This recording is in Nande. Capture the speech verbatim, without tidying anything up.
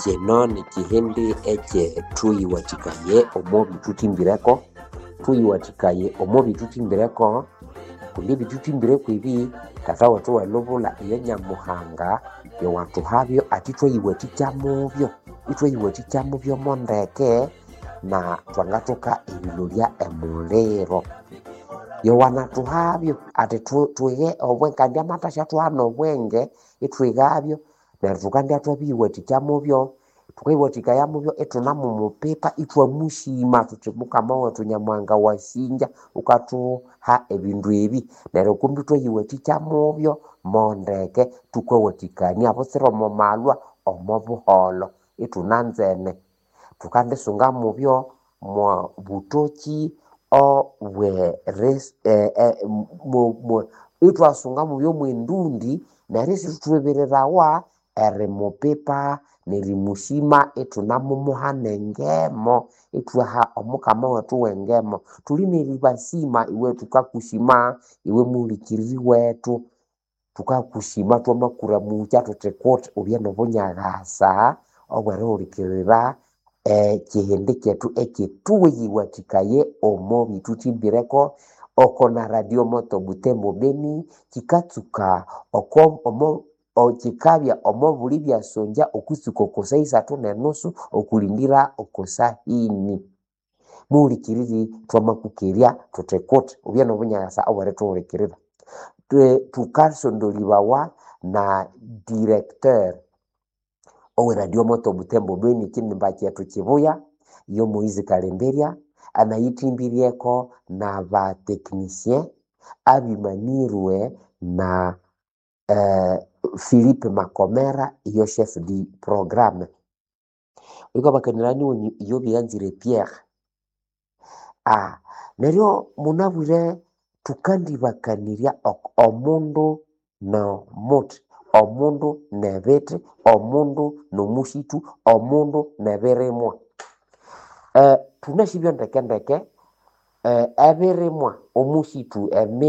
Kino nikihindi ekyethuyiwathikaye omo bithuthimbireko, thuyiwathikaye omo bithuthimbireko kundi ebithuthimbireko ebi Tata wethu owelubulha iyo Nyamuhanga yowathuhabyo athi thwayiwathikya mubyo, ithwayiwathikya mubyo mondeke na thwangathoka erilolya emuliro. Yowanathuhabyo athi thwighe obwenge kandi amathasyathugha nobwenge ithwighabyo neryo thukandya thwabiyiwathikya mubyo, thukayiwathikaya mubyo ithunamumupipa ithwamusima thuthi Mukama wethu Nyamuhanga wasinja wukathuha ebindu ebi neryo kumbi ithwayiwathikya mubyo mondeke thukawathikania butsira omo malhwa omo buholho ithunanzene. Thukandisunga mubyo mwa butokyi ithwasunga mubyo mwendundi neryo isithwibirirawa erimupipa nerimusima ithunamumuha nengemo ithwaha omukama wethu wengemo. Thuli neribasima iwe thukakusima iwe muhulikiriri wethu, thukakusima twamakuramukya thuthi kuti wubye nobunyakasa obwerihulikirira ekihindi kyethu ekyethuwayiwathikaye omo bithuthimbireko oko na radio moto Butembo Beni kikatsuka oko omo kikabya omo buli byasongya okwitsuka oko saa isathu nenusu okulindira oko saa ini. Muhulikiriri twamakukerya thuthi kuti wubye nobunyakasa obwerithuhulikirira. Thukasondolibawa na directeur owe radio moto Butembo Beni ekinimba kyethu kibuya yo Moise Kalemberya anayithimbireko naba technicien abimanirwe na Philippe Makomera iyo chef du programme. Wikabakanirania iyo byanzire Pierre. Neryo munabwire thukandibakanirya omundu nomuthi, omundu nebithi, omundu nomusithu, omundu nebirimwa. Thunasibya ndekendeke ebirimwa, omusithu, emi.